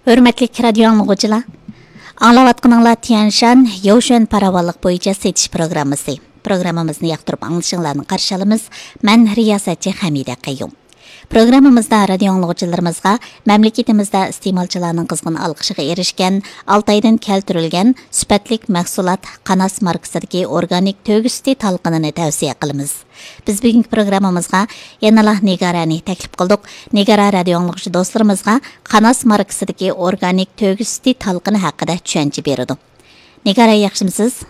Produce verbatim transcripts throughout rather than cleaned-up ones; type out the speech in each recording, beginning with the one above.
ھۆرمەتلىك رادىيو ئاڭلىغۇچىلار، ئاڭلاۋاتقىنىڭلار تيەنشان يوشۈەن پاراۋانلىق بويىچە سېتىش پروگراممىسى. پروگراممىمىزنى ياقتۇرۇپ ئاڭلىشىڭلارنى قارشى ئالىمىز. مەن رىياسەتچى خەمىدە قەييۇم. پروگراممىمىزدا رادىيو ئاڭلىغۇچىلىرىمىزغا مەملىكىتىمىزدە ئىستېمالچىلارنىڭ قىزغىن ئالقىشىغا ئېرىشكەن ئالتايدىن كەلتۈرۈلگەن سۈپەتلىك مەھسۇلات قاناس ماركىسىدىكى ئورگانىك تۆگە سۈتى تالقىنىنى تەۋسىيە قىلىمىز. بىز بۈگۈنكى پروگراممىمىزغا يەنىلا نىگارەنى تەكلىپ قىلدۇق. نىگارە رادىيو ئاڭلىغۇچى دوستلىرىمىزغا قاناس ماركىسىدىكى ئورگانىك تۆگە سۈتى تالقىنى ھەققىدە چۈشەنچە بېرىدۇ. نىگارە، ياخشىمسىز؟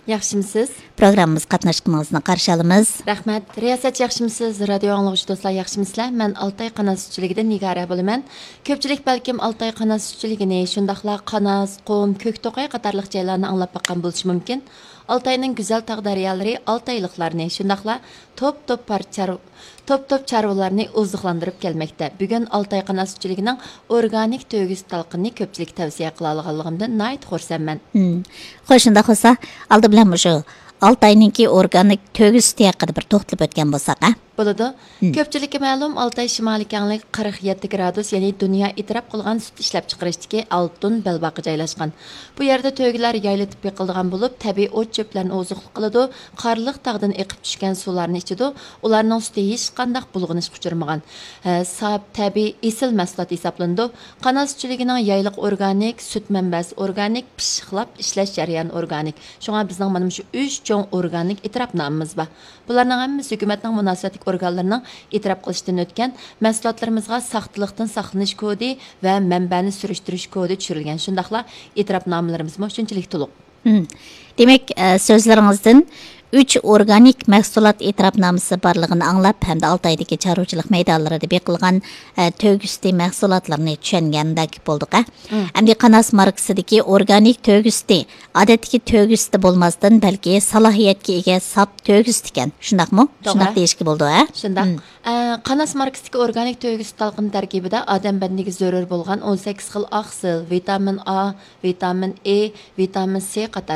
ياخشىمسىز؟ پروگراممىمىزغا قاتناشقىنىڭىزنى قارشى ئالىمىز. رەھمەت. رىياسەتچى، ياخشىمسىز؟ رادىيو ئاڭلىغۇچى دوستلار، ياخشىمىسىلەر؟ مەن ئالتاي قاناس سۈتچىلىكىدىن نىگارە بولىمەن. كۆپچىلىك بەلكىم ئالتاي قاناس سۈتچىلىكىنى، شۇنداقلا قاناس، قۇم، كۆكتوقاي قاتارلىق جايلارنى ئاڭلاپ باققان بولۇشى مۇمكىن. ئالتاينىڭ گۈزەل تاغ دەريالىرى ئالتايلىقلارنى، شۇنداقلا توپ-توپ پار-، چار-، توپ-توپ چارۋىلارنى ئوزۇقلاندۇرۇپ كەلمەكتە. بۈگۈن ئالتاي قاناس سۈتچىلىكىنىڭ ئورگانىك تۆگە سۈتى تالقىنىنى كۆپچىلىككە تەۋسىيە قىلالىغانلىقىمدىن ناھايىتى خۇرسەنمەن. مم. خوش، شۇنداق بولسا، ئالدى بىلەن مۇشۇ ئالتاينىڭكى ئورگانىك تۆگە سۈتى ھەققىدە بىر توختىلىپ ئۆتكەن بولساق، ھە؟ بولىدۇ. مم. كۆپچىلىككە مەلۇم، ئالتاي شىمالىي كەڭلىك قىرىق يەتتە گرادۇس، يەنى دۇنيا ئېتىراپ قىلغان سۈت ئىشلەپچىقىرىشتىكى ئالتۇن بەلباغقا جايلاشقان. بۇ يەردە تۆگىلەر يايلىتىپ بېقىلىدىغان بولۇپ، تەبىئىي ئوت-چۆپلەرنى ئوزۇقلۇق قىلىدۇ، قارلىق تاغدىن ئېقىپ چۈشكەن سۇلارنى ئىچىدۇ، ئۇلارنىڭ سۈتى ھېچقانداق بۇلغىنىشقا ئۇچرىمىغان، ھە، ساپ، تەبىئىي، ئېسىل مەھسۇلات ھېسابلىنىدۇ. قاناس سۈتچىلىكىنىڭ يايلىق ئورگانىك، سۈت مەنبەسى ئورگانىك، پىششىقلاپ ئىشلەش جەريانى ئورگانىك. شۇڭا بىزنىڭ مانا مۇشۇ ئۈچ چوڭ ئورگانىك ئېتىراپنامىمىز بار. بۇلارنىڭ ھەممىسى ھۆكۈمەتنىڭ مۇناسىۋەتلىك ئورگانلىرىنىڭ ئېتىراپ قىلىشتىن ئۆتكەن، مەھسۇلاتلىرىمىزغا ساختىلىقتىن ساقلىنىش كودى ۋە مەنبەنى سۈرۈشتۈرۈش كودى چۈشۈرۈلگەن، شۇنداقلا ئېتىراپنامىلىرىمىزمۇ شۇنچىلىك تولۇق. مم. دېمەك، ئە، سۆزلىرىڭىزدىن ئۈچ ئورگانىك مەھسۇلات ئېتىراپنامىسى بارلىقىنى ئاڭلاپ ھەمدە ئالتايدىكى چارۋىچىلىق مەيدانلىرىدا بېقىلغان، ئە، تۆگە سۈتى مەھسۇلاتلىرىنى چۈشەنگەندەك بولدۇق، ھە؟ مم. ئەمدى قاناس ماركىسىدىكى ئورگانىك تۆگە سۈتى ئادەتتىكى تۆگە سۈتى بولماستىن، بەلكى سالاھىيەتكە ئىگە ساپ تۆگە سۈتى ئىكەن، شۇنداقمۇ؟ توغرا. شۇنداق دېيىشكە بولىدۇ، ھە؟ شۇنداق. مم. ئە، قاناس ماركىسىدىكى ئورگانىك تۆگە سۈت تالقىنى تەركىبىدە ئادەم بەدىنىگە زۆرۈر بولغان ئون سەككىز خىل ئاقسىل، ۋىتامىن ئا، ۋىتامىن ئې، ۋىتامىن سې قاتارلىق